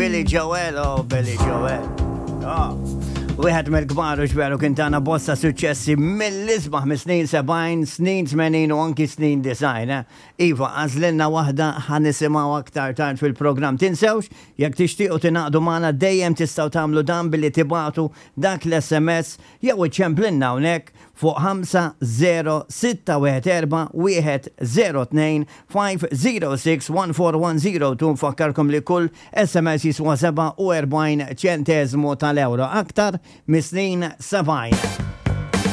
Billy Joel, oh Billy Joel. Oh. Wieħed mill-kbar u xveru kien tana bosta suċċessi mill-isbaħ mis-snin 70, snin 80 u anki snin 90. Eh? Iva, għażlilna waħda ħa nisimgħu aktar tard fil-programm. Tinsewx, jekk tixtiequ tingħaqdu magħna dejjem tistgħu tagħmlu dan billi tibagħtu dak l-SMS jew iċċemplinna hawnhekk fuq 50614 102 506 14102. Nfakkarkom li kull SMS jiswa 47 ċenteżmu tal-ewro. Aktar mis-snin 70.